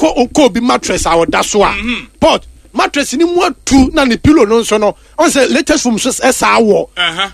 Wokɔ wokɔ obi mattress a ɔda so a, pot mattress ni mu atu na ne pillow no nso no, ɔn sɛ latest foam so ɛsaa wɔ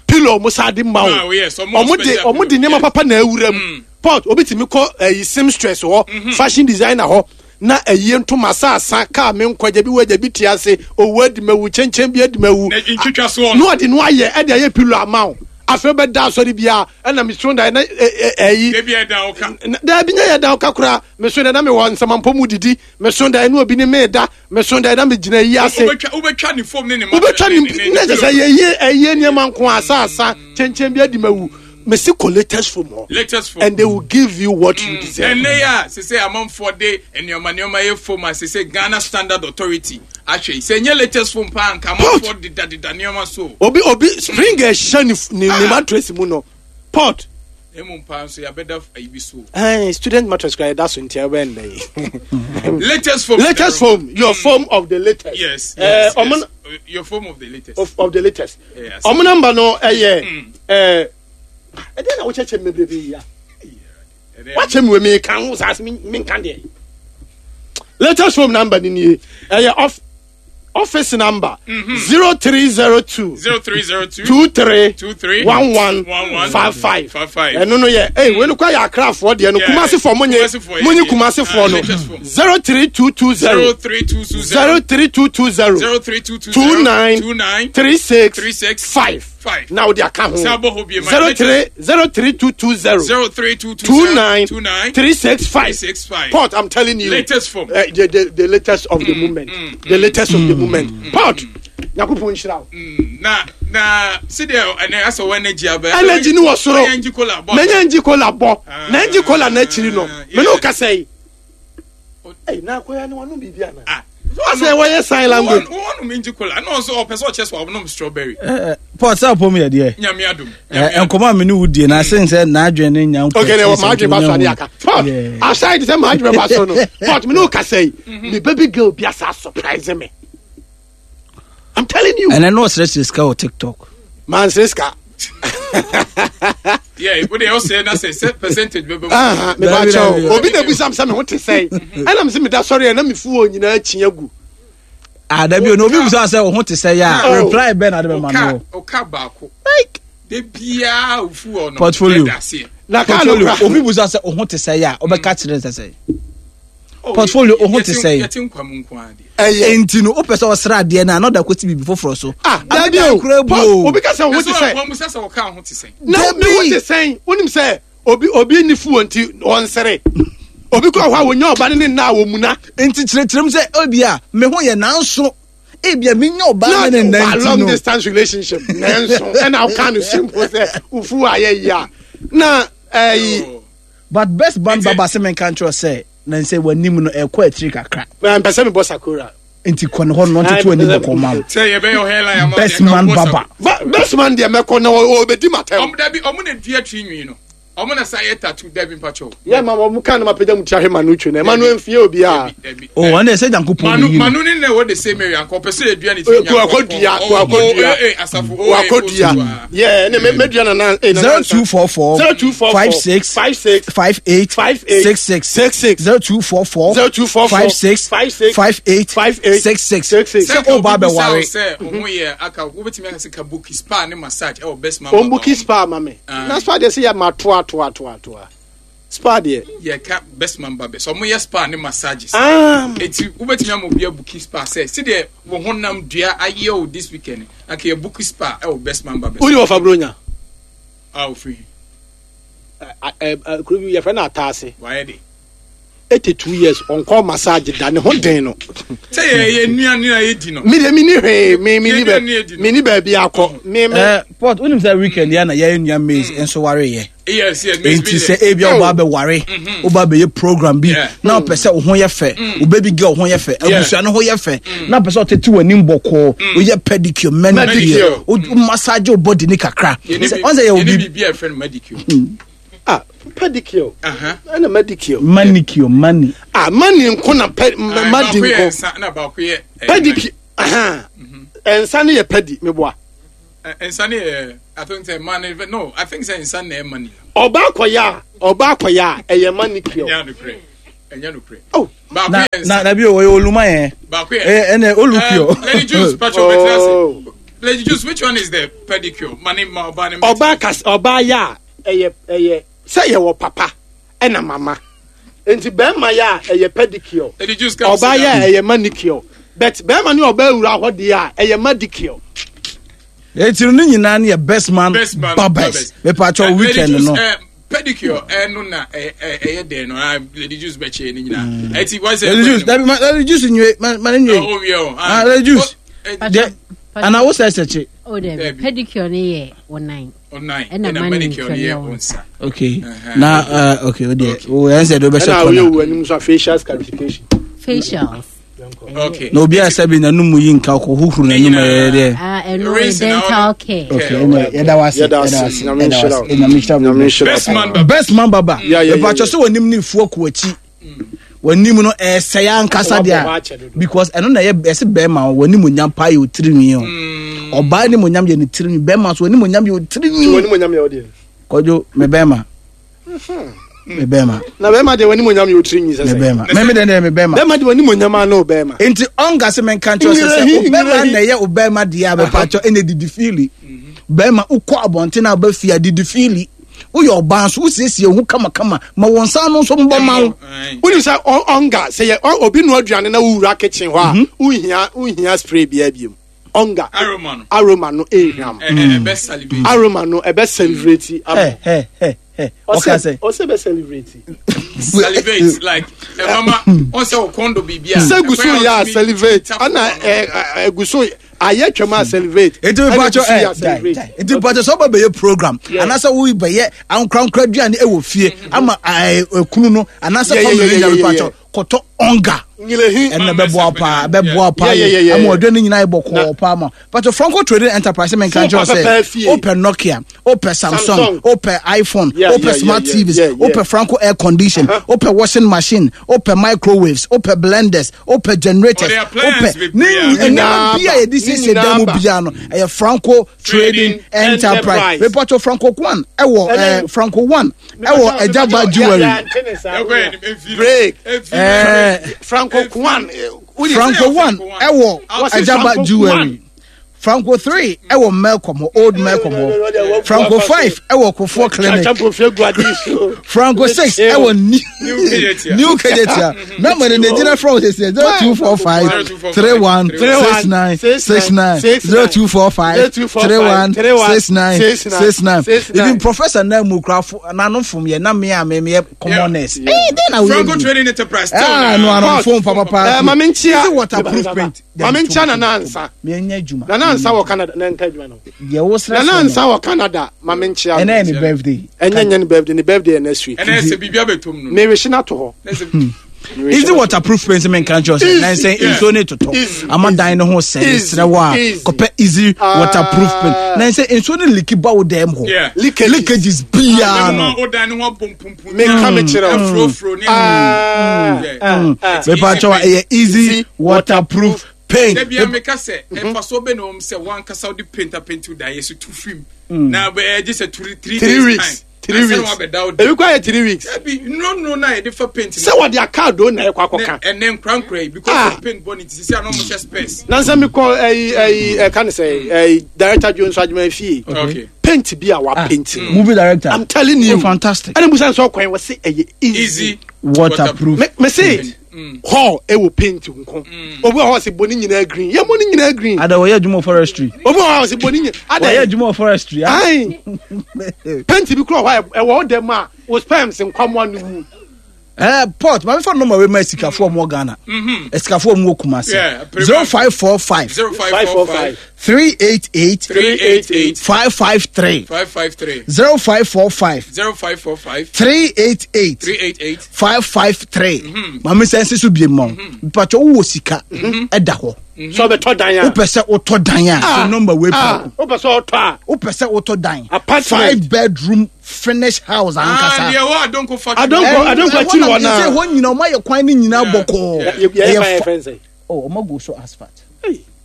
pillow ɔmo saa de ma Ah, wo. oh, yes, ɔmo wɔ Ɔmo de special ɔmo de pillow, nneɛma papa na awura mu. Pot obi tumi kɔ ɛyi seamstress hɔ, fashion designer hɔ na ɛyie ntoma saasa kaa me nkɔ gya bi wɔ gya bi te ase owu adi ma wu kyɛnkyɛn bi adi ma wu Na ntwitwa soɔ na no. ɔde no ayɛ ɛde ayɛ pillow ama wo. Afei bɛda asɔre biara ɛna meso da na ɛyi Ebi ɛda wo ka. Daabi, nyɛ yɛ da wo ka koraa. Meso da na mewɔ nsamampɔ mu didi. Meso da ɛne obi ne meda. Meso da na megyina yi ase. Wobɛtwa wobɛtwa ne fom ne ne Wobɛtwa ne ne kyɛ sɛ yɛyie ɛyie nneɛma nko asaasa kyɛnkyɛn bi adi ma wu. Mesi kɔ latest foam hɔ. Latest foam. And they will give you what you deserve. Ɛnɛ yi a sese amanfoɔ de nneɛma nneɛma yɛ foam a sese Ghana Standard Authority ahwɛ yi sɛ nyɛ latest foam paa nka amanfoɔ deda deda nneɛma so. Obi spring ɛhyɛ ne mattress mu no pot. Emu paa nso yabɛda ayi bi so. Student mattress kura yɛda so nti ɛbɛn dɛ yi. Latest foam. Latest foam, your foam of the latest. Yes. Yes, yes. Your foam of the latest. Of the latest. Yes. Ɔmo number no ɛyɛ ɛɛ ɛdɛn na wokyɛkyɛ mi bebrebe yi ya. Wakyɛ mi wɔ mi kan ho saa mi mi nka deɛ. Latest foam number ni nie, ɛyɛ off office number 0302 0302 23 23 11 11 55. 55. Ɛno no yɛ ɛy wei no kɔ yɛ akrafoɔ deɛ no. Kumasefoɔ mo nye Kumasifoɔ mo nye yɛ. Kumasefoɔ Ah, no latest foam. 03220 03220 03220 03220 29 29 36 36 5 5. Na wode aka ho. Sɛ abɔ hɔ bie ma 03 03220 03220 29 29 365. 365. Pot, I'm telling you. Latest form. The latest of the moment. The latest of the moment. Pot. Nyankopɔn nhyira wo. Na sɛdeɛ ɛnɛ asɛ wɔ energy abɛ. Energy ni wɔ soro. Ɔyɛ ngyi kola bɔ. Menya ngyi kola bɔ. Na ngyi kola na akyiri no. Me no kasa yi. Ei, na akoya ne wano biribi ana? Ah. Sɛ wɔyɛ sign language. Wɔn nom ngyi kola. Ɛna ɔnso ɔpɛ sɛ ɔkyɛ so ɔnom strawberry. Paul sɛ ɔpɔ mu yɛ deɛ. Nyame adum. Nkɔmɔ a me ne wo die na asen sɛ n'adwene ne nya nkɔ. Okay, na maa adwene ba so ade aka. Paul, aside sɛ maa adwene ba so no. Paul, me ne wo kasa yi. Me baby girl bi asa surprise me. I'm telling you. Ɛnɛ no ɔsrɛsrɛ sika wɔ TikTok. Man srɛ sika. Yeah, wo de ɔsɛ na sɛ percentage bɛbɛ mu. Me ba kyɛw. Obi na ebisa me sɛ me ho te sɛn. Ɛna me sɛ me da sɔre na me fu wɔ nyinaa kyi agu. Ah, dabi o, na obi bisa sɛ wo ho te sɛ ya. Oh. Reply bɛn na de bɛ ma no. Ɔka baako. Like De biara ofu wɔ no. Portfolio. Na kaa no Portfolio. kora. Obi bisa sɛ wo ho te sɛ ya, ɔbɛka kyerɛ sɛ sɛ. Portfolio, wo ho te sɛ. Yɛte nkwa mu nko ara deɛ. Ɛyɛ. Enti no, wopɛ sɛ ɔsrɛ adeɛ no a, na ɔda kɔsi biribi foforɔ so. Ah, dabi o. Kura bu Paul, o. obi ka sɛ wo ho te sɛ. Wɔn mu sɛ sɛ ɔka ho te sɛn. Na me ho te sɛn. Wonim sɛ obi ni fuo nti ɔnsere. Obi kɔ hɔ a wonya ɔba ne ne nna a wɔmuna. Enti kyerɛkyerɛ mu sɛ ebi a me ho yɛ nanso ebi a menya ɔbaa ne ne nna Na nti long no. distance relationship nanso ɛna woka no simple sɛ wofu ayɛ yi a na ɛyi. But best band baba sɛ menka nkyerɛ sɛ na nsɛ w'anim no ɛkɔ akyiri kakra. Mpɛ sɛ mebɔ sakura. Nti kɔ ne hɔ no ɔntoto anim kɔ ma wo. Sɛ yɛbɛyɛ ɔhɛla yɛ ama Best man baba. Best man deɛ mɛkɔ na ɔbɛdi matɛm. Ɔmo dabi ɔmo na dua tiri nwi no. Ɔmo na sa yɛ tattoo dabi mpakyɛw. Yɛ ma ɔmo kan na ma pagya mu ti ahwɛ manu twe na ɛma no mfie obi a. O wɔn de sɛ Nyankopɔn Manu na yi no. Manu ne na ɛwɔ the same area nka ɔpɛ sɛ yɛdua ne tiri nwi. Wakɔdua wakɔdua Asafo wakɔdua. Yɛ ne mɛdua nana. 0244 0244 56 56 58 58 66 66 0244 0244 56 56 58 58 66 66. sɛ ɔba abɛware. Sɛ ɔmo yɛ aka wobɛtumi aka sɛ kabuki spa ne massage ɛwɔ best man. Ombuki spa ma me. Na spa deɛ sɛ yɛ ma toa toa toa toa. Spa deɛ. Yɛ ka best man ba bɛ sɛ ɔmo yɛ spa ne massages. Ah. Eti wobɛtumi ama obi abuki spa sɛ sɛdeɛ wo honam dua ayɛ o this weekend anka yɛ buki spa ɛwɔ best man ba bɛ. Wodi wɔfa buronya. A ofiri. Kuro bi yɛfrɛ no Ataase. Wayɛ de. 82 years ɔnkɔ massage da ne ho den no. Sɛ yɛ yɛ nua nua yɛ di no. Mi de mi ni hwee mi mi ni bɛ mi ni baabi akɔ mi mi. Port wonim sɛ weekend yɛ na yɛyɛ nua maize nso ware yɛ. Yes, Nti sɛ ebi a woba abɛware, woba abɛyɛ program bi na ɔpɛ sɛ wo ho yɛ fɛ, wo baby girl ho yɛ fɛ, abusua no ho yɛ fɛ, na ɔpɛ sɛ ɔtete w'anim bɔkɔɔ, woyɛ pedicure, manicure, wo massage wo body ne kakra. Sɛ ɔn sɛ yɛ obi. Yɛne biribi a yɛfrɛ no manicure. Ah, pedicure. Ɛna manicure. Manicure, mani. Ah, mani nko na pe madi nko. Nsa na baako yɛ. Pedicure. Nsa no yɛ pedi, meboa. Nsa no yɛ, I think say money, no, I think say nsa na ɛyɛ money. Ɔba akɔyɛ a, ɔba akɔyɛ a, ɛyɛ manicure. Nya no korɛ. Ɛnyɛ nokorɛ. Oh. Baako Na yɛ nsa. na na bi o ɔyɛ oluma yɛn. Baako yɛ. Ɛyɛ ɛnɛ olukio. Lady Juice, Pacho, oh. Oh. Lady Juice, which one is the pedicure? Mani ma ɔbaa ne Ɔbaa kas ɔbaa yɛ a ɛyɛ ɛyɛ sɛ yɛwɔ papa ɛna mama nti bɛrima yɛ a ɛyɛ pedicure Lady Juice, come ɔbaa sit yɛ a down. ɛyɛ manicure but bɛrima ne ɔbaa wura hɔ deɛ a ɛyɛ madicure. Eti no ne nyinaa ne yɛ best man Best man barbers. Mepatwa Lady weekend Juice, no. Pedicure ɛno na ɛyɛ dɛn no ah, Lady Juice bɛkyɛ ne nyinaa. Ɛti wɔn sɛ. Lady Juice dabi ma Lady Juice nwe ma ma ne nwe. Oh, wie o. Ah Lady Juice. Oh, Deɛ ana wo sɛ ɛsɛkye. O dɛ Dabi. pedicure ne yɛ wo nan. Ɔnan Ɛna ɛna manicure ne yɛ wo nsa. Okay. Uh-huh. Na okay o deɛ o yɛn sɛ de o bɛ hyɛ ɛna woyɛ kɔna. wo anim so a facial scarification. Facials. Okay. Na obi a sɛ bi n'anum yi nka kɔ huhuru n'anum ɛyɛ deɛ. Ah, ɛno yɛ Rinse na dental ɔno- care. Okay ɛnɛ yɛda wa ase Yɛda yɛda wa ase. ase Nyame yɛda wa nhyira wo. ase Nyame nhyira wo. Nyame nhyira wo. Best man baba. Best man baba. Yeah, yeah, yeah, Mepatwa yeah. sɛ w'anim ne fuo kɔ akyi. W'anim no ɛsɛe ankasa Wabɔ deɛ hɔ a akyɛ dodo. because ɛno na ɛyɛ ɛsɛ bɛrima o w'anim onyam paa yɛ otirinwi o. Ɔbaa anim onyam yɛ ne tirinwi bɛrima so w'anim onyam yɛ Nti w'anim otirinwi. onyam yɛ wo deɛ. Kɔdwo me bɛrima. Me bɛrima. Na bɛrima deɛ w'anim onyam yɛ otiri nyi sɛ Me sɛ. bɛrima. Mɛmi dɛ dɛ me bɛrima. Bɛrima deɛ w'anim onyam ano bɛrima. Nti ɔnka sɛ menka nkyerɛ sɛ sɛ Nyerahi, ɔbɛrima nyerahi. na ɛyɛ ɔbɛrima deɛ a bɛpakyɛ ɛna didi fiili. Bɛrima wokɔ abɔnten a wobɛfie a didi fiili. Woyɛ ɔbaa nso wosiesie wo ho kamakama ma wɔn nsa ano nso mbɔ ma wo. Wonim sɛ ɔnga sɛ yɛ obi noa aduane na wowura kitchen hɔ a wohia wohia spray biara biom. Ɔnga Aroma no. aroma no ehwam. Ɛbɛ salivate. Aroma no ɛbɛ celebrate ama. Hɛ hɛ hɛ hɛ. Ɔka sɛ. Ɔsɛ bɛ celebrate. Salivate like ɛmama ɔsɛ ɔkɔndo biribi a. Sɛ gu so yɛ a celebrate ɛna ɛ gu so ayɛ twɛm a celebrate. Nti Ɛna mepatwɔ gu so yɛ a ɛ celebrate. dai dai. Nti mepatwɔ sɛ ɔba bɛyɛ program anaasɛ wo bɛyɛ ankorankora aduane ɛwɔ fie ama ɛɛ ekunu no anaasɛ Yeah, yeah, family yeah, no yeah, nyinaa yeah, mepatwɔ kɔtɔ ɔnga. Nyelehi. Ɛnna bɛboa paa bɛboa paa Yeah, yeah, yeah, yɛ yeah, ama yeah. ɔdwa no nyinaa yɛ bɔkɔɔ paa ma pàtó Franco Trading Enterprise menka Phone nkyerɛ papa sɛ paa fie. wopɛ Nokia wopɛ Samsung Samsung. wopɛ iPhone Yeah, wopɛ yeah, smart yeah, TVs yeah, yeah. wopɛ Franco air condition wopɛ washing machine wopɛ microwaves wopɛ blenders wopɛ generators Ɔde appliance wopɛ bebree ne a- nneɛma Nyinaa bi a ba. yɛde Ne siesie dan mu nyinaa ba. biara no ɛyɛ Franco Trading Trading Enterprise Enterprise. mepatɔ Franco One ɛwɔ Ɛnɛ- ɛɛ Franco One ɛwɔ Ɛgyaba Jewelry Break. ɛɛ. Franco Kwan. Franco one ɛwɔ Wɔsi Ajaba Franco Jewelry. Kwan. Franco 3 ɛwɔ Melcom hɔ old Melcom hɔ Franco 5 ɛwɔ Kofoɔ Clinic Franco 6 ɛwɔ New New Kejetia number ne gyina from sisi 0245 31 69 69 0245 31 69 69 even professor na mu kura fo n'ano fom yɛ na me a me me yɛ commoners ɛɛ den na Franco wo yɛ Trading Enterprise. Still ah no ano fom papa Eh, Maame nkyia. Easy waterproof paint Maame nkyia Nana Ansa. Menyɛ adwuma Nana Ansa wɔ Canada. Na nka adwuma no. Deɛ wo srɛ Nana Ansa wɔ Canada. Maame nkyia. ɛnɛ yɛ ne birthday Ɛnyɛ nyɛ ne birthday. Ne birthday yɛ next week. ɛnɛ sɛ biribi abɛtom no. Mewehye no ato hɔ. Na sɛ- Easy waterproof paint me nka nkyerɛ sɛ nan sɛ nsuo ne totɔ Easy. ama dan no ho sɛ Easy. mesrɛ wo a Easy. kɔpɛ easy waterproof paint nan sɛ nsuo ne leaki ba wo dɛm hɔ Yeah. Leakages. leakages biara Ɛma no wo dan no ho abɔ mpumpun. Menka me kyerɛ wo. Afurofuro ne. Ah, Yeah. ah, ah. mepa kyɛw a ɛyɛ easy Easy waterproof paint Da bia meka sɛ ɛfa so bɛ na wɔm sɛ wankasa wode paint apɛnti wo dan yɛ so tu fim na ɛgye sɛ 3 Three days weeks. time. Three Ansa na weeks. wabɛda wo dan. Ebi kɔ ayɛ 3 weeks. Dabi nnuro no a yɛde fa paint Sɛ wɔde akaado na ɛkɔ akɔka. ɛnɛ nkorankora yi because Ah. of paint bɔ ne ti sisi a na ɔmo hyɛ space. Nansa mi kɔ ɛyi ɛyi ɛka ne sɛ ɛyi director Jones Adwuma fie. Okay. Paint bi a wa paint no. movie director I'm telling you. Oh, fantastic. Ɛna musa nsɔ kwan wɔ se ɛyɛ easy. Easy waterproof Me me se hall ɛwɔ paint nko. Obi wɔ hɔ a ɔse bɔ ne nyinaa green. Yɛ bɔ ne nyinaa green. ada wɔyɛ adwuma wɔ forestry Obi wɔ hɔ a ɔse bɔ ne nyinaa. wɔyɛ Ada adwuma wɔ forestry ah. ayi paint bi kura hɔ a ɛwɔ ɔdɛm a o sperms nkwamoa no wu. Port maame fa nɔɔma wei ma asikafoɔ mu wɔ Ghana asikafoɔ mu wɔ Kumasi Yeah, pretty 0545 0545 388 388 553 553 0545 0545 388 388 553 maame sɛ nsi so bie ma wo mpatwɛ wowɔ sika ɛda hɔ Sɛ ɔbɛtɔ dan a. wopɛ sɛ wotɔ dan a so nɔmba wei Ah, pɛ wopɛ sɛ ɔtɔ a. wopɛ sɛ wotɔ dan Apartment. five bedroom finish house Ah, ankasa deɛ wɔ Adonko factory. Adonko- Adonko akyiri hɔ naa. sɛ hɔ nyina ɔma yɛ kwan no nyinaa Yeah. bɔkɔɔ Yɛ yɛ Ɛyɛ fa yɛ fa- fɛn sɛ. Oh, ɔma go so asphalt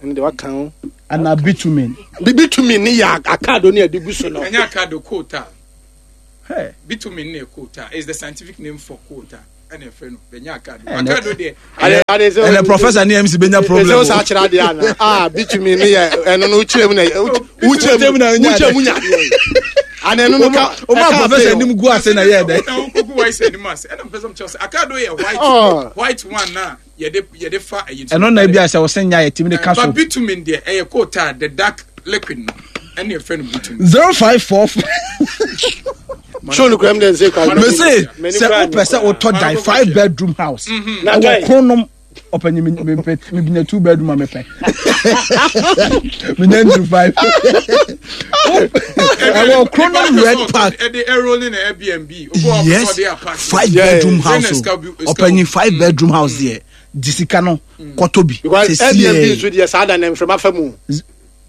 Ɛne de waka ho. ana bitumen Bibi tumi ne yɛ akaado ne yɛde gu so no. Ɛnyɛ akado quota. Hey. Bitumen ne quota is the scientific name for quota. ɛna ɛfrɛ no bɛnya akado akado deɛ. Ɛnɛ professor ne MC bɛnya problem. Ɛsɛ sɛ akyerɛ adeɛ ana ah bitumi ne yɛ ɛno no wokyerɛ mu na wokyerɛ mu wokyerɛ mu nya adeɛ ana ɛno no ka o ma professor anim gu ase na yɛ dɛ. Ɛna wokogu white anim ase ɛna mpɛ sɛ mekyerɛ sɛ akado yɛ white white one na yɛde yɛde fa ɛyi. Ɛno na ebi a sɛ wɔsɛ nya yɛ timi de ka so. But bitumen deɛ ɛyɛ kootaa the dark liquid no ɛna yɛfrɛ no bitumen. 054. Show no kura mi dɛ nse kwa. Mese sɛ wopɛ sɛ wotɔ dan 5 bedroom house ɛwɔ Kronom ɔpɛnyi mepɛ menya 2 bedroom a mepɛ menya ntu 5 ɛwɔ Kronom Red Park. Ɛde ɛrolling na Airbnb. Yes, 5 bedroom house ɔpɛnyi 5 bedroom house deɛ di sika no kɔtɔ bi. Because Airbnb nso deɛ saa da na nframa fa mu.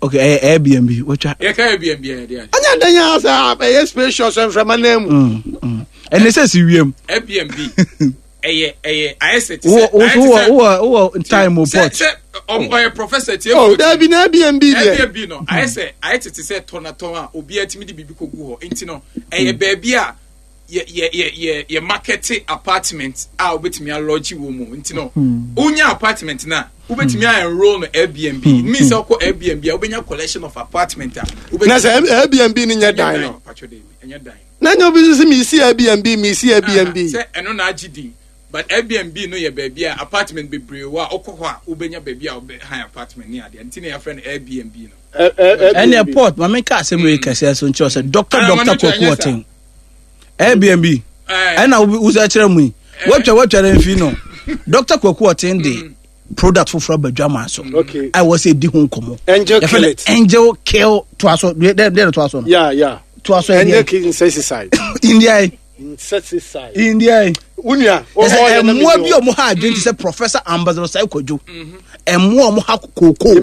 Okay, ɛyɛ Airbnb wɔtwa. Yɛ ka Airbnb yɛ de adi. Anya dan ya sɛ ɛyɛ spacious nframa nan mu. Ɛnɛ sɛ si wiem. Airbnb ɛyɛ ɛyɛ ayɛ sɛ ti sɛ ayɛ ti sɛ wowɔ wowɔ time o port. Sɛ ɔyɛ professor tie. Oh dabi na Airbnb deɛ. Airbnb no ayɛ sɛ ayɛ tete sɛ tɔnatɔn a obiara tumi de biribi kɔ gu hɔ nti no ɛyɛ baabi a yɛ yɛ yɛ yɛ yɛ market apartment a wobɛtumi alɔgye wɔ mu nti no wonya apartment na wobɛtumi a enroll no Airbnb mm. means sɛ wokɔ Airbnb a wobɛnya collection of apartment a na sɛ Airbnb no nyɛ dan no ɛnyɛ dan na nyɛ obi nso sɛ mesi Airbnb mesi Airbnb sɛ ɛno na agye din but Airbnb no yɛ baabi a apartment bebree wɔ a wokɔ hɔ a wobɛnya baabi a wobɛhan apartment ne adeɛ nti na yɛafrɛ no Airbnb no ɛne port ma menka asɛm wei kɛseɛ so nkyerɛ sɛ Dr. Dr. Kwaku Ɔten Airbnb ɛna wosɛ kyerɛ mu yi watwa watwa no mfi no Dr. Kwaku Ɔten de product foforɔ aba dwaman so a ɛwɔ sɛ ɛdi ho nkɔmmɔ. Angel kill it. Angel kill toa so deɛ deɛ toa so no. Yeah yeah. Toa so Angel kill insecticide. India yi. Insecticide. India yi. Wunia. Ɛsɛ mmoa bi a wɔn ha adwene ti sɛ Professor Ambassador Sai Kwadwo. Mmoa a wɔn ha kooko.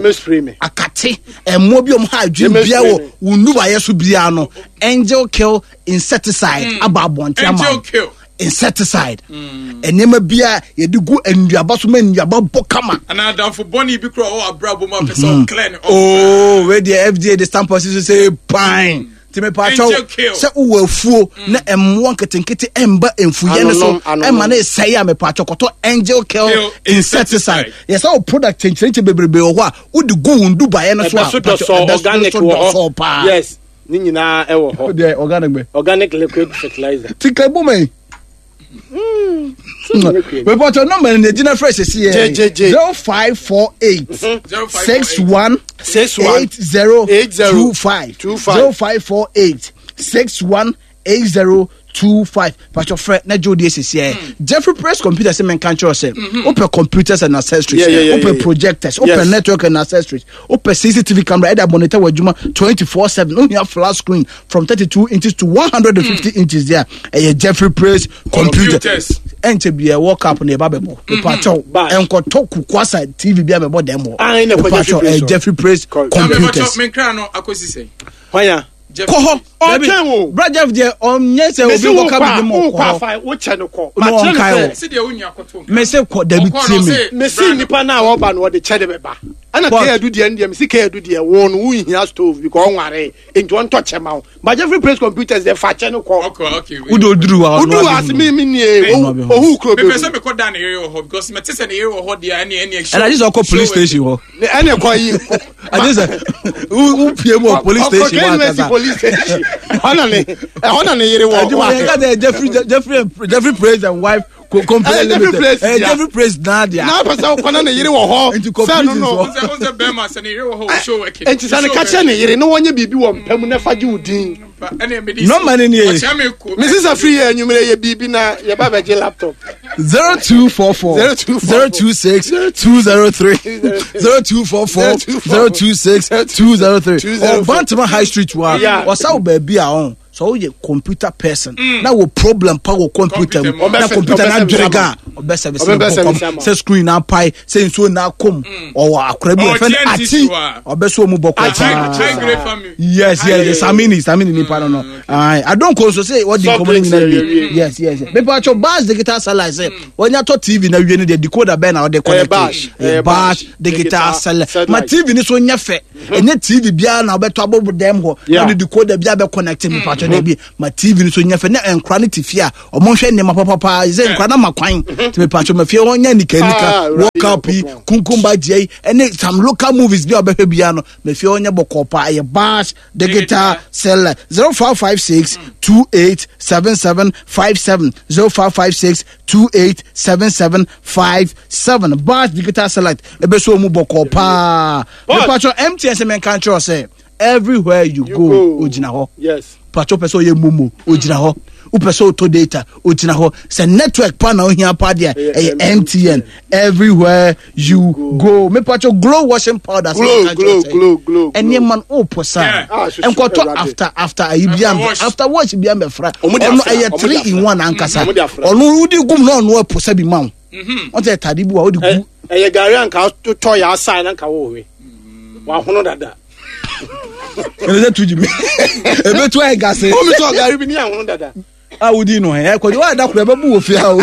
Akate. Mmoa bi a wɔn ha adwene bia wɔ wɔn nubayɛ so biara no. Angel kill insecticide aba abɔnten ama. Angel kill. Insecticide. Nneɛma bi a yɛde gu nnuaba so ma nnuaba bɔ kama. Anaa adamfo bɔne bi kura ɔwɔ abrabɔ mu a pɛ sɛ ɔclear ne off. Oh, wei deɛ FDA de stamp ɔsi so sɛ pine. Nti mepatwɛw sɛ wowɔ afuo na mmoa nketenkete ɛmba mfuyɛ no so ɛma no ɛsɛe a mepatwɛw kɔtɔ Angel Kill insecticide. Yɛ sɛ wo product kyɛnkyerɛnkyɛ bebrebe wɔ hɔ a wode gu wo ndubaeɛ no so a ɛbɛso dɔsɔ organic wɔ hɔ paa. Yes, ne nyinaa ɛwɔ hɔ. Deɛ organic bɛ. Organic liquid fertilizer. Tika bɔ mɛ. Mepatwɛw nɔmba no na egyina fresh esi yɛ. 0548 61 80 25 0548 61 80 25. Patwɛ frɛ na gye odi esisi ɛ. Jeffrey Press computer sɛ menka nkyerɛ sɛ wopɛ computers and accessories, wopɛ projectors, wopɛ network and accessories, wopɛ CCTV camera ɛde monitor wɔ adwuma 24/7, wohia flat screen from 32 inches to 150 inches there. Ɛyɛ Jeffrey Press computer. Ɛnkyɛ bia World Cup na ɛba bɛbɔ. Mepatwɛw ɛnkɔtɔ kukwasa TV bi a bɛbɔ dɛm hɔ. Mepatwɛw ɛyɛ Jeffrey Press computers. Menkra no akɔsi sɛ. Hwanya. Kɔ hɔ. Ɔtwɛn o. Bra Jeff deɛ ɔnyɛ sɛ obi nkɔka bibi ma ɔkɔ hɔ. Mesi wo kyɛ no kɔ. Na ɔnkae o. Mesi kɔ dabi tie mi. Mesi nipa na ɔba no ɔde kyɛ de bɛba. Ɛna kɛyɛ du deɛ no deɛ mesi kɛyɛ du deɛ wo no wo nhia stove because ɔnware nti ɔntɔ kyɛ ma wo. But Jeffrey Praise computers deɛ fa kyɛ no kɔ. Wode oduru wa ɔno abɛhu. Oduru ase mi mi nie ohu kuro bɛ. Mepɛ sɛ mekɔ da ne yere wɔ hɔ because mete sɛ ne yere wɔ hɔ deɛ ɛne ɛne. Ɛna agye sɛ ɔkɔ police station hɔ. Ɛne kɔ yi. Agye sɛ wo pie mu wɔ police station hɔ ankasa. Police station. Ɛhɔ na ne yere wɔ. Ɛdwuma yɛn ka sɛ Jeffrey Jeffrey Jeffrey Praise and wife company limited. Jeffrey Praise naa deɛ. N'a pɛ sɛ ɔkɔ na ne yere wɔ hɔ. Nti kɔ prison so. Sɛ bɛrima sɛ ne yere wɔ hɔ o show working. Nti sɛ ne ka kyerɛ ne yere na wɔnyɛ biribi wɔ mpa mu na fa gye wo din. Nɔmba ni nie. Mrs. Afiri yɛ enyimire yɛ biribi na yɛ ba bɛgye laptop. 0244 026 203 0244 026 203 Ɔbantama High Street wa ɔsa wo baabi a ɔn sɛ woyɛ computer person na wɔ problem pa wɔ computer mu na computer na adwere ga ɔbɛ service ne bɔkɔm sɛ screen na apae sɛ nsuo na akɔm ɔwɔ akora bi wɔfɛ no ati ɔbɛ so ɔmu bɔkɔ paa yes yes samini samini nipa no no adonko nso sɛ wɔdi nkɔmɔ no nyinaa wie yes yes mepa atwɔ bash digital satellite sɛ wɔnya tɔ tv na wie no deɛ decoder bɛn na ɔde connect bash digital satellite ma tv no so nyɛ fɛ ɛnyɛ tv biara na ɔbɛtɔ abɔ dɛm hɔ na ɔde decoder biara bɛ connect mepa atwɔ. mepatwɔ daabi ma TV no so nyɛ fɛ na nkora no te fie a ɔmo nhwɛ nneɛma papapaa sɛ nkora no ma kwan nti mepatwɔ ma fie hɔ nyɛ nika nika Ah, Awurade World Cup yi Nyankopɔn. Kunkumba gye yi ɛne some local movies bi a ɔbɛhwɛ biara no ma fie hɔ nyɛ bɔkɔɔ paa. Ɛyɛ Bash Digital Seller 0556 28 7757 0556 28 7757. Bash Digital Select ɛbɛso ɔmu bɔkɔɔ paa. Mepatwɔ MTN sɛ menka nkyerɛ sɛ everywhere you go ogyina hɔ. Yes. Patwɔ pɛ sɛ ɔyɛ momo ogyina hɔ. Wopɛ sɛ ɔtɔ data ogyina hɔ. Sɛ network pa na ohia pa deɛ ɛyɛ MTN everywhere you go. Mepatwɔ Glow washing powder. Glow, glow, glow, glow. Ɛnneɛma no ɔpɔ saa. Nkɔtɔ after after ayi bi am after wash bi am bɛfra. Ɔno ɛyɛ 3 in 1 ankasa. Ɔno wodi gum na ɔno ɛpɔ sɛ bi ma wo. Wɔn sɛ tade bi wa wodi gu. Ɛyɛ gari anka tɔ yɛ asa na nka wɔwe. Wahono dada. Ɛnɛ sɛ tuji mi. Ebetu ayɛ gase. Omi tɔ gari bi ni ahono dada. A wodi no hɛ kɔdi wa da koro ɛbɛbu wɔ fie ha o.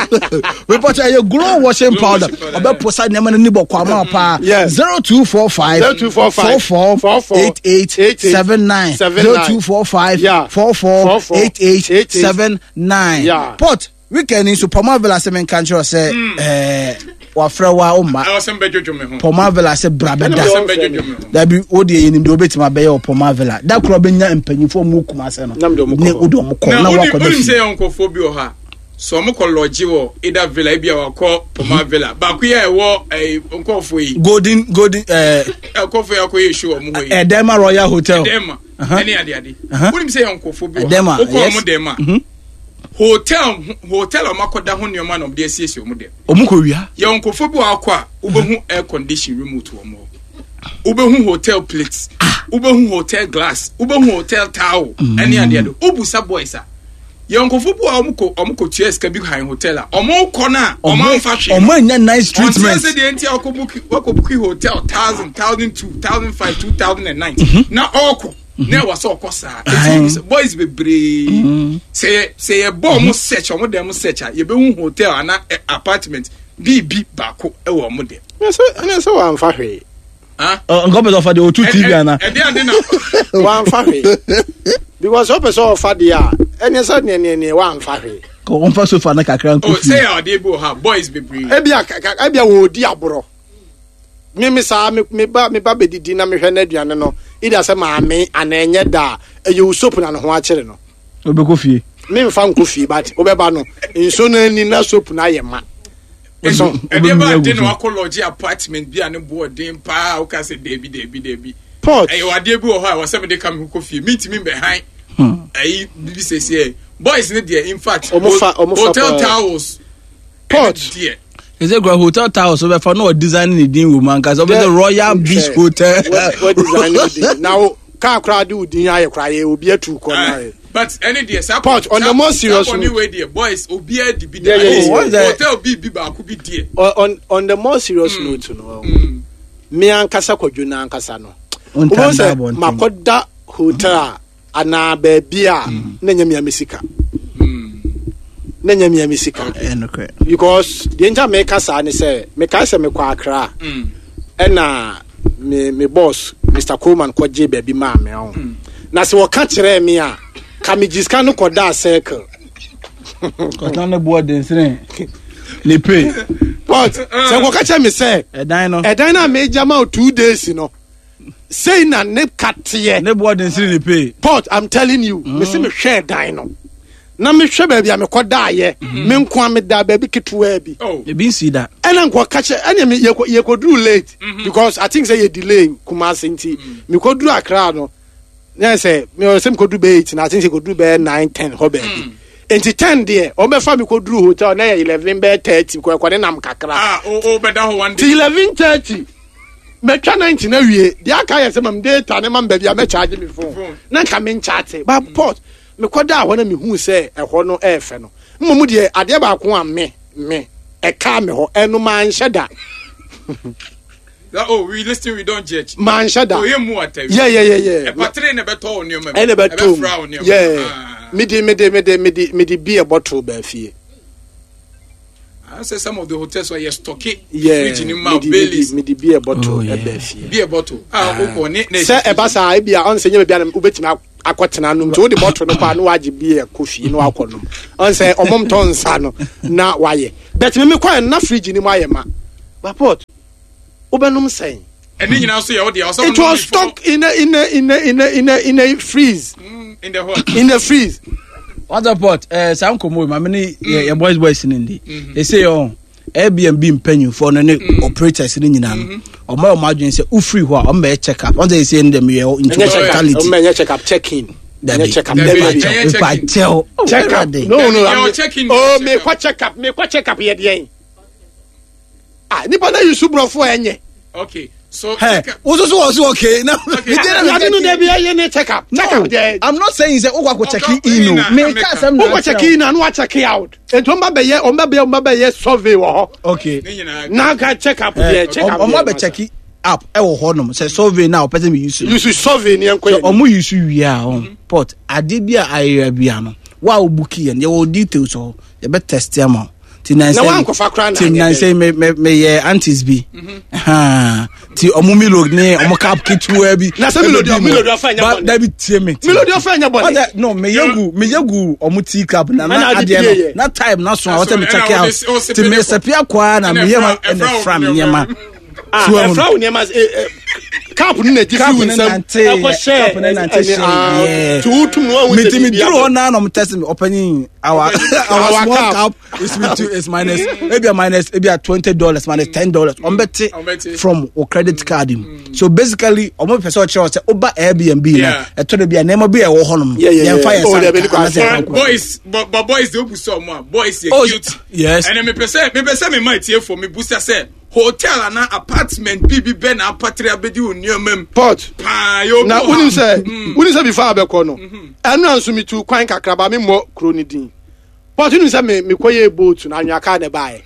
Mepɔtɔ ɛyɛ Glow washing powder. Ɔbɛposa nneɛma no ni bɔ kɔ ama paa. 0245 0245 44 88 79 0245 44 88 79. Port weekend nso Pɔma Villa sɛ menka nkyerɛ sɛ ɛɛ wafrɛ wa o ma. Pɔma Villa sɛ bra bɛda. Dabi o deɛ yɛnim deɛ wobɛtumi abɛyɛ wɔ Pɔma Villa. Da korɔ bɛnya mpanyinfoɔ mu kuma sɛ no. Ne wode ɔmo kɔ na wakɔ da fie. Na wonim sɛ nkurɔfoɔ bi wɔ hɔ a sɛ ɔmo kɔ lɔgye wɔ either villa ebi a wakɔ Pɔma Villa baako yi a ɛwɔ ɛɛ nkurɔfoɔ yi. Golden Golden ɛɛ. Nkurɔfoɔ yi akɔ yɛ show ɔmo hɔ yi. Ɛdɛma Royal Hotel. Ɛdɛma ɛne adeade. Wonim sɛ yɛ nkurɔfoɔ bi wɔ hɔ a wokɔ ɔmo dɛm a. Hotel hotel a wɔakɔda ho nneɛma na wɔde asiesie wɔn dɛm. Wɔn kɔ wia. Yɛ nkurɔfoɔ bi wɔ akɔ a wobɛhu air condition remote wɔn hɔ. Wobɛhu hotel plates. Ah. Wobɛhu hotel glass. Wobɛhu hotel towel. Mm. Ɛne adeɛ do. Wobusa boys a. Yɛ nkurɔfoɔ bi wɔ a wɔn kɔ wɔn kɔ tua sika bi han hotel a wɔn kɔ na wɔn anfa hwee. Wɔn anya nice treatment. Wɔn ti ase deɛ nti a wakɔ book wakɔ book hotel thousand 1,002 1,005 2,009 mhm. na ɔkɔ. na ɛwɔ sɛ ɔkɔ saa eti boys bebree mm-hmm. sɛ yɛ sɛ yɛ bɔ ɔmo mhm. search ɔmo dɛm search a yɛbɛhu hotel ana eh, apartment biribi baako ɛwɔ ɔmo dɛm. ɛnɛ sɛ wàmfa hwee. nkɔ pɛ sɛ ɔfa deɛ ɔtu tv ana. ɛde ade na. wàmfa hwee because ɔpɛ sɛ ɔfa deɛ a ɛnɛ sɛ neɛneɛneɛ wàmfa hwee. ɔmfa sofa no kakra nkɔ oh, fie. sɛ yɛ adeɛ bi wɔ ha boys bebree. ebia ebia wɔredi aborɔ. Me me saa me me ba me ba bɛdidi na mehwɛ n'aduane no ida sɛ maame anaa ɛnyɛ da a ɛyɛ wo soap na ne ho akyere no. Wobɛkɔ fie. Memfa nkɔ fie but wobɛba no nsuo no ani na soap no ayɛ ma. So ɛdeɛ ba ade na wakɔ lɔgye apartment bi a ne boɔ den paa woka sɛ daabi daabi daabi. Pot. Ɛyɛ adeɛ bi wɔ hɔ a wɔsɛ mede ka me ho kɔ fie mentumi mbɛhan ɛyi bibi sɛsiɛ boys ne deɛ in fact hotel towels Pot. Ɛne deɛ. Ɛsɛ kura hotel towels wobɛfa na ɔdesign ne din wɔ mu ankasa wobɛsɛ Royal Beach Hotel. Wɔ design ne din na wo kaa koraa de wo din ayɛ koraa yɛ obi atu kɔ na ayɛ. But ɛne deɛ saa Pot on the more serious note. Saa wei deɛ boys obiara di bi da. Hotel bi bi baako bi deɛ. On on the more serious mm. note no. Mm. Me ankasa kwadwo na ankasa no. Wobɛhu sɛ makɔda hotel a anaa baabi a mm. na nyɛ mia me sika na nyɛ mia me sika because deɛ nti a meka saa ne sɛ mekae sɛ mekɔ Accra mm. ɛna me me boss Mr Coleman kɔgye baabi maa me ɔho mm. na sɛ wɔka kyerɛɛ me a ka megye sika no kɔdaa circle kɔtena ne boɔ densene ne pay but sɛ wɔka kyerɛ me sɛ ɛdan no ɛdan no a megya ma wo 2 days no sei na ne ka teɛ. Ne boɔ den sene ne pay. Pot I'm telling you. Mm. Mese mehwɛ dan no. Na mehwɛ baabi a mekɔ daayɛ. Mm. Me nko a meda baabi ketewaa bi. Oh. Ebi nsi da. Ɛna nkɔ ka kyɛ ɛna me yɛkɔ yɛkɔduru late. Mm -hmm. Because I think sɛ yɛ delay Kumasi nti. Mm. Mekɔduru Accra no. Na sɛ me sɛ mekɔduru bɛyɛ 8 na I think sɛ kɔduru bɛyɛ 9 10 hɔ baabi. Mm. Nti 10 deɛ wɔn bɛfa mi kɔduru hotel na yɛ 11 bɛyɛ 30 kɔ ɛkɔ ne nam kakra. Ah o o bɛda hɔ one day. Ti 11:30. Mɛtwa 90 na wie deɛ aka yɛ sɛ mam data ne mam baabi a mɛkyagye me phone na nka menkyate ba port mekɔdaa hɔ na mehuu sɛ ɛhɔ no ɛɛfɛ no mmom deɛ adeɛ baako a me me ɛkaa me hɔ ɛno manhyɛ da. Oh, we listen, we don't judge. Manhyɛ da. Oh, yɛ mu atɛ. Yeah, yeah, yeah, yeah. Ɛpatere na ɛbɛtɔ wo nneɛma mu. Ɛna ɛbɛtɔ mu. Yeah. Mede mede mede mede mede beer bottle baa fie. I say some of the hotels were yes stocky. Yeah, fridge ni ma Baileys. Me di beer bottle oh, yeah. Ebe fie. Beer bottle. Ah, ah. Okɔ ne ne. Sɛ ɛba saa ebi a ɔn sɛ nyɛ baabi a wobɛtumi akɔtena nom nti wode bɔtol no kɔ a na wagye beer kɔ fie na wakɔ nom ɔn sɛ ɔmo ntɔ nsa no na wayɛ but me mekɔɛ no na fridge no mu ayɛ ma bapot wobɛnom sɛn ɛne nyinaa nso yɛ wo deɛ ɔsɛ it was stuck in a in a in a in a in a in a freeze mm, in the hot in the freeze What the pot? Eh, saa nkɔmmɔ yi maame ne yɛ yɛ boys boys ne ndi. Ɛsɛ yɛ ɔn Airbnb mpanyinfoɔ no ne operators no nyinaa no ɔmo ayɛ ɔmo adwene sɛ wofiri hɔ a ɔmo bɛyɛ check up. Ɔmo sɛ ɛsɛ no dɛm yɛ into ɛnyɛ check up hospitality. ɔmo ɛnyɛ check up check in Dabi. ɛnyɛ check up Dabi. dabi Ɛnyɛ check in. Mepakyɛw. Oh, check up Awurade. no no Dabi, I'm- yɛwɔ check in, oh yɛwɔ check mekɔ check up mekɔ check up yɛ deɛn ah nipa na yusu borɔfo a ɛnyɛ okay so Hey, check up wo soso wɔ so okay. Na Okay. ade no dabi ɛyɛ ne check up check up deɛ I'm not saying sɛ wokɔ akɔ check Ɔkɔ in in o. na Meka America. asɛm na wokɔ check in a na wa check out nti ɔmo ba bɛyɛ ɔmo ba bɛyɛ ɔmo ba bɛyɛ survey wɔ hɔ Okay. ne nyinaa na ka check up deɛ check up Ɔmo deɛ abɛ check up ɛwɔ hɔ nom sɛ survey na ɔpɛ sɛ mi use no. yusu survey ni ɛnkɔ yɛ Ɔmo use wie a ɔn pot adeɛ bi a ayera bi ano wa a obuki yɛ no yɛwɔ details hɔ yɛbɛ test ama wo. Ti Na wankɔfa koraa na ti anyɛ nansɛ me me meyɛ aunties bi. Haa. Ti ɔmo milo ne ɔmo cup ketewa bi. Na sɛ Milo deɛ- Ɛbɛdi mu. Milo deɛ ɔfa nyɛ Ba- bɔne. Dabi tie me. tie me. Milo deɛ ɔfa nyɛ bɔne. Ɔsɛ no meyɛ gu meyɛ gu ɔmo tea cup na Ɛna na ade adeɛ pie no yɛ. na time na so a wɔsɛ me Ɛna check wode out ɔsɛ ti pele me kɔ. sɛpia kwaa na Ɛna meyɛ ma ɛfra- ɛna ɛfra wo fra me nneɛma. nneɛma. ah So, ɛfra wo nneɛma eh, eh, cup no na gye Cup fi wo no nsam nante- ɛkɔ hyɛ cup no nante hyɛ, yeah. ti wotum no wahu sɛ meti mi biribi duru abɔ. hɔ naa na ɔmo test mi ɔpanyin our our Our small cup. cup is with two is minus ebi a minus ebi a $20 minus $10 ɔmo bɛ Ɔmo bɛ te te. from o credit card mu so basically ɔmo pɛ sɛ ɔkyerɛ sɛ ɔba Airbnb na Yeah. ɛtɔ de bi a nneɛma bi a ɛwɔ hɔ nom Yeah, yeah, yɛn fa yeah. yɛn Oh, sa dabi, nka ne anasɛ kɔ yɛn fa nkɔ. boys but, but boys de obusa ɔmo a boys yɛ Oh, guilty yes. ɛnna mepɛ sɛ mepɛ sɛ mema etiefo mebusa sɛ hotel ana apartment bi bi bɛ na apatiri abedi wo nneɛma mu pot paa yɛ obi na wɔ wonim ha. sɛ wonim sɛ before abɛkɔ no ɛno a nso metu kwan kakraba memmɔ kuro no din pot wonim sɛ me- mekɔyɛɛ boat no anwea kaa ne baeɛ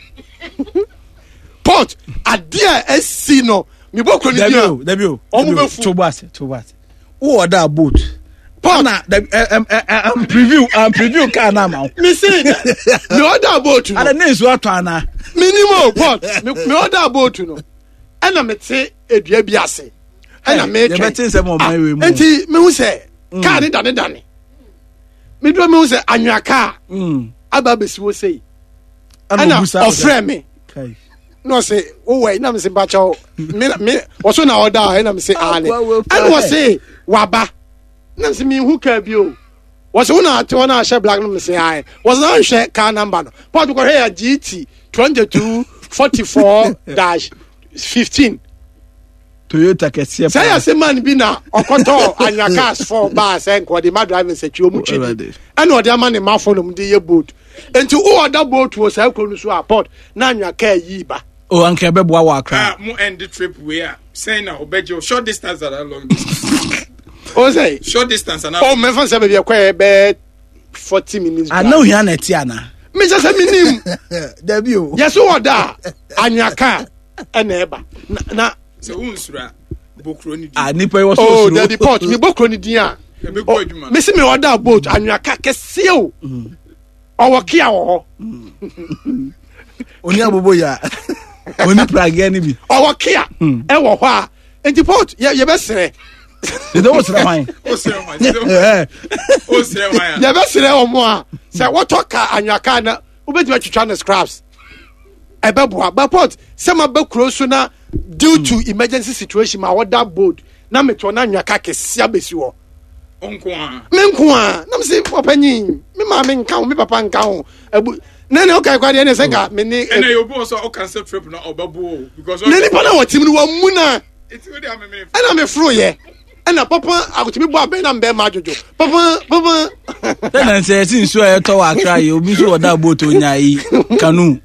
pot adeɛ a asi no mebɔ kuro no dabi din o a dabi o Ɔmo dabi o. bɛfu. to bo ase to bo ase wowɔ da boat pot na dabi ɛ ɛ ɛ am preview am preview car na ama wo mese me ɔda boat no ada ne nsuo atɔ ana menim o pot me me ɔda boat no ɛna mete edua bi ase ɛna Hey, metwɛn yɛbɛte nsɛm wɔ ɔman wei mu. Ah, nti mehu sɛ kaa ne dane dane meduro mehu sɛ anwea kaa aba abɛsi hɔ sei ɛna obusa wo sɛ- ɔfrɛ me Kai. na ɔse wowɔ yi na mese mpakyɛw me me ɔso na ɔda a ɛna mese aane Wa- wa- ɛna ɔse waba na mese mehu kaa bi o wɔse wo na ate hɔ na ahyɛ black no mese ae wɔse na nhwɛ kaa number no pɔt kɔhwɛ yɛ gt 22 44 dash 15 Toyota kɛseɛ sɛ yɛ se man bi na ɔkɔtɔ anwa cars fɔ baa sɛ nka ɔde ma driving sɛ twi ɔmu twi di Alright. ɛna ɔde ama ne mafo nom de yɛ boat nti wowɔ da boat wɔ saa kuro no so a pɔt na anwa kaa yi ba o anka ɛbɛboa wɔ akra Ah, mo end the trip wei a sɛn na ɔbɛgye o short distance ana long distance o sɛ short distance ana o mɛfa sɛ baabi ɛkɔ yɛ bɛɛ 40 minutes drive. ana ohia na ɛte ana mekyɛ sɛ menim dabi o yɛso wɔ da a anwea kaa ɛna ɛba na na sɛ wo nsura bokuro ni di ah nipa yi wɔ so oh osuro dabi port mebɔ kuro no din a ɛbɛkɔ oh, adwuma mesi me ɔda boat anwea kaa kɛseɛ o ɔwɔ kia wɔ hɔ oni abobo ya oni pragea ni bi ɔwɔ kia ɛwɔ hɔ a nti port yɛ yɛbɛsrɛ dede wo srɛ hwan o srɛ hwan sɛ o srɛ hwan a yɛbɛsrɛ wɔn a sɛ wɔtɔ kaa anwea kaa na wobɛtumi atwitwa no scraps ɛbɛboa but port sɛ ma bɛ kuro so na due to emergency situation ma wɔda boat na metɔ na anwea kaa kɛseɛ abɛsi hɔ. nko a me nko a na mese ɔpanyin me maame nka ho me papa nka ho abu ne ne wokae kwa deɛ ne sɛ nka me ne ɛna yɛ obi wɔ so a ɔcancel trip na ɔbɛbo o because ne nipa na wɔtim no wamu na eti o de amemene ɛna meforoyɛ ɛna papa akotumi bɔ abɛn na mbɛɛma adwodwo papa papa sɛ na nsɛ yɛsi nsuo a ɛtɔ wɔ akra yi obi nso wɔ da boat onya yi kanu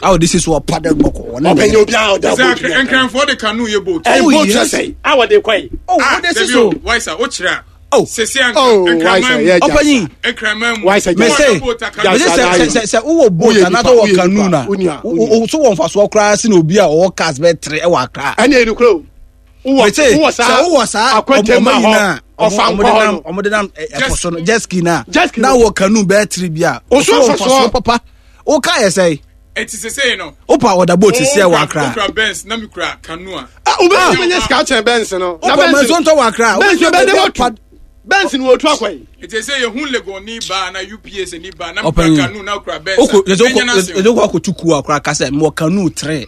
a wɔde si so ɔpa dɛ gbɔkɔ wɔne ɔpanyin obiara ɔda sɛ boat no. nkranfoɔ de canoe yɛ boat ɛn Oh, boat yes. sɛ sɛ a wɔde kɔ yi oh ah wɔde si dabi so o waisa o kyerɛ a Oh. sese a Oh, nkraman Waisa, mu yeah, ɔpanyin nkraman mu Waisa, mese Wɔde boat a canoe. mese sɛ sɛ sɛ sɛ wowɔ boat Woyɛ anaasɛ nipa, wowɔ woyɛ canoe nipa, na wonya, wo- wo so wɔ mfasoɔ koraa se na obi a ɔwɔ cars bɛyɛ tere ɛwɔ akra ɛne ɛnu kuro wowɔ mese wowɔ sɛ saa wowɔ saa akwantɛm ɔmo hɔ nyinaa ɔfa ɔmo nkɔ de hɔ nam no ɔmo de nam ɛpo Jet so no jet ski na Jet ski na no. wɔ canoe bɛyɛ tere bi a Wo so wɔ mfasoɔ. papa woka yɛ sɛ eti sese no wopa wɔda boat sisi ɛwɔ akra okura Benz na mi kura canoe a Ah, wobɛtumi anya sika akyɛn bɛnse no na wopɔ mɛnso ntɔ wɔ akra Benz bɛde wɔtu. Benz ni wɔtu akɔ yi. Nti sɛ yɛhu Legon ni ba na UPS ni ba na Ɔpanyin. mkura canoe na kura Benz. Oko yɛsɛ Ɛnyɛ oko n'asɛm. yɛsɛ oko akotu kuo akora ka sɛ mewɔ canoe tere.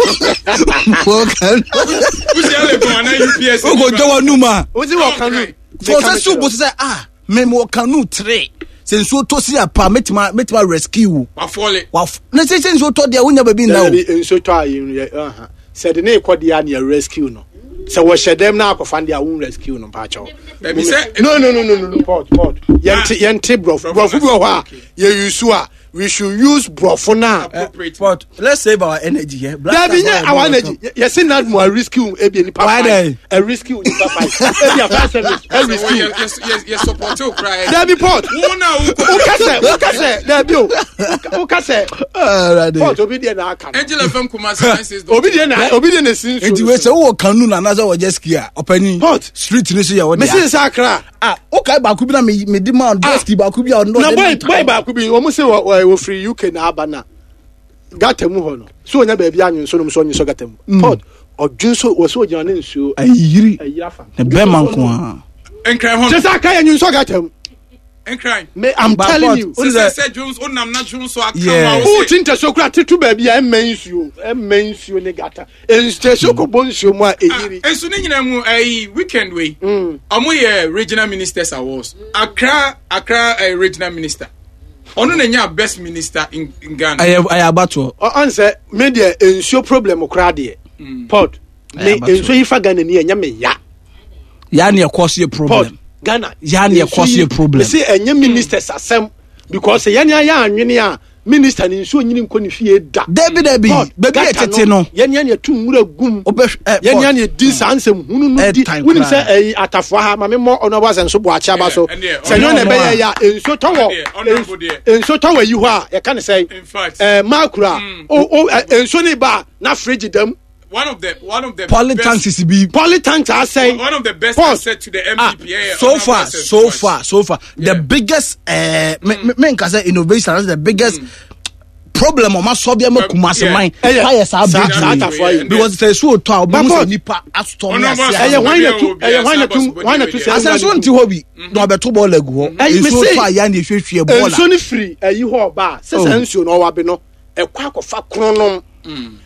Mewɔ canoe. Wohyia Legon ana UPS ni Oko ba. dwa w'anum a. Wosi wɔ canoe. Fɔ sɛ so bo sɛ ah me mewɔ canoe tere. Sɛ nsuo tɔ si apa mɛtuma mɛtuma rescue wo. Wafɔle. Waf ne sɛ sɛ nsuo tɔ deɛ wonya baabi nna o. Dabi nsuo tɔ a yɛn yɛ ɛha sɛ de ne kɔ deɛ a ne yɛ rescue no sɛ wɔhyɛ dɛm na akɔfa no deɛ a wɔn rescue no mpakyɛw. Dabi sɛ. No no no no no no port port yɛn te yɛn te brɔfo brɔfo bi wɔ hɔ a yɛ use a we should use brɔfo na. Appropriate. But let's save our energy here. Black Dabi Star nye our Boy, energy yɛsi na mu a rescue ebi nipa Why five then? a rescue nipa five ebi a fire service a rescue. Yɛ yɛ yɛ support o kura yɛ. Dabi port Wo na wo kɔ. wokasɛ wokasɛ dabi o wokasɛ Alright. port obi deɛ na aka no Angel FM Kumasi 96. obi deɛ na obi deɛ na esi nsuo Nti no wei so. sɛ wowɔ canoe na anaasɛ wɔ jet ski a ɔpanyin. Port. Street ni so yɛ wɔ mesi dea. nsa akra. Ah, okay baako bi na me me di ma jet ski baako bi a ɔno na ɔde boy nam boy baako bi wɔn sɛ wɔ wɔ wɔfiri uk na aba na gata mu hɔ no so onya baabi anwe nso nom so ɔnwe so gata mu port ɔdwe nso wɔ so ogyina ne nsuo Ayiri. ayi afa Na bɛrima nko ara. Nkran hɔ. kyɛ sɛ aka yɛ nwe nso gata mu Nkran. me i'm But telling Port, you Sɛ sɛ sɛ Jones onam na Jones so aka Yeah. wa wo o ti ntɛso kura tete baabi a ɛmɛ nsuo ɛmɛ nsuo ne gata ntɛso kɔ bɔ nsuo mu a eyiri Nso ne nyinaa mu ɛyi weekend wei. Ɔmo yɛ regional ministers awards. Accra Accra eh, regional minister. Ɔno na nya best minister in, in Ghana. Ɛyɛ ɛyɛ abatoɔ. ɔn sɛ me deɛ nsuo problem koraa deɛ port me Ɛyɛ abatoɔ. nsuo yi fa Ghana ni ɛnyɛ me ya. Yaa ne ɛkɔ so yɛ Port problem. Ghana. Ya ne ɛkɔ so yɛ problem. Mese ɛnyɛ ministers asɛm because yɛn ayɛ anwene a minister ne nsuo nyini nkɔ ne fie da. Dabi dabi Port, baabi a gutter ɛtete no. Yɛn yɛn yɛtu nwura gum. Wobɛ ɛ Yɛn port. yɛn yɛdi saa nsɛm hunu no di. Ɛtan Wonim koraa. sɛ ɛyi atafoa ha maame mmɔ ɔno ɔbɔ asɛn so bɔ akyɛ aba so. Yeah, ɛndeɛ, Sɛ nyɛ na ɔno ɛbɛyɛ a. yɛ a nsuo tɔ wɔ Ɛndeɛ, ɔno abo deɛ. nsuo tɔ wɔ yi hɔ a yɛka ne sɛ In fact, ɛɛ maakura o o ɛ, nsuo ne ba a, na fridge dam one of the one of the Poly best, tanks bi. poly tank asɛn. One of the best Port. asset to the MPP. Ah, yeah, so Honorable far, Asset so Buachi. far, so far, Yeah. the biggest me me me nka sɛ innovation that's the biggest problem ɔma sɔ bi ama Kumasi Yeah. man. Ɛyɛ. Fire saa Saa- bridge saa wei. atafoa yi. Because sɛ esu otɔ a ɔbɛn mu sɛ Port. nipa asotɔ ne Ɔno ase. ɔbɔ Ɛyɛ hwan na tu Obi ɛyɛ hwan na asa tu bɔ hwan na tu sɛ Asɛnso nti hɔ bi na ɔbɛto bɔɔl agu hɔ. Ɛyi, Nsuo mese- tɔ a yɛn na ehwiehwie bɔɔl nsuo a. no firi ayi hɔ ɔba a sɛ Oh. saa nsuo no ɔwɔ abe no ɛkɔ akɔfa kronom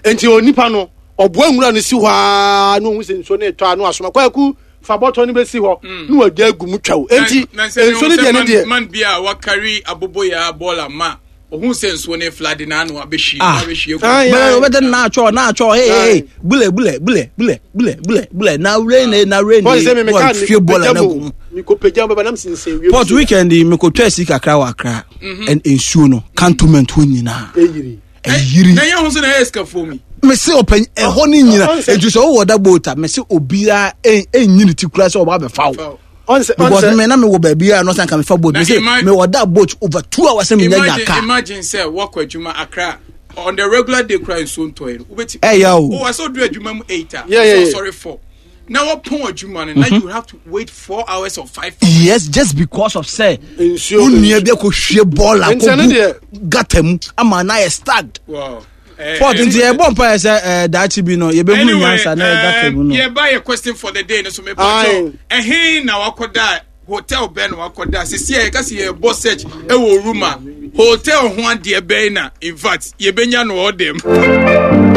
nti onipa no ɔboa nwura no si hɔ aa na ohun sɛ nsuo no etɔ a na wasoma kwaku fa bɔtɔ no bɛsi hɔ na wadi agu mu twɛw nti Na- na sɛ nsuo no deɛ ne man- deɛ man bi a wakari aboboyaa bɔɔla ma ohun sɛ nsuo ne flood na ano abɛhwie Ah. abɛhwie Ah, yeah. Bɛrɛ ɔbɛtɛ na atwɔ na atwɔ hey hey bule bule bule bule bule bule bule na rain eh, na rain pɔn sɛ mi mi kaa hwie bɔɔl na gu mu. mi ko pagya mu bɛba nam sinsin wiem Port weekend yi mekɔtwa asi kakra wɔ Accra ɛn nsuo no cantonment hɔ nyinaa eyiri ɛyiri na yɛn ho nso na ɛyɛ sikafoɔ mi mese ɔpanyin ɛhɔ ne nyina Ɔn sɛ- ɛnti sɛ wowɔ da boat a mese obiara ɛnyi ne ti kura sɛ ɔba abɛfa wo ɔnsɛ because ɔnsɛ me na mewɔ baabi a no sɛ nka mefa boat Na mese ima- mewɔ da boat over 2 hours sɛ menya nya imagine car imagine sɛ wɔkɔ adwuma Accra on the regular day kura nsuo ntɔ yi no wobɛti Ɛyɛ o. o asɛ odu adwuma mu 8 a Yeah, yeah, yeah. sorry 4 na wɔpɔn adwuma no na you have to wait 4 hours or 5 hours. Yes, just because of sɛ Nsuo- wo nua bi akɔhwie bɔɔl Nti ɛno akɔgu deɛ- gata mu ama na ayɛ stacked. Wow. Port nti yɛbɔ mpa yɛ sɛ daakye bi no yɛbɛhunu Anyway, nyansa na ɛgata mu no. yɛba yɛ question for the day no so Aye. mepatɔ ɛhe na wakɔda hotel bɛn na wakɔda sisi a yɛka sɛ yɛbɔ search ɛwɔ room a hotel ho adeɛ bɛn na in fact yɛbɛnya no wɔ dɛm.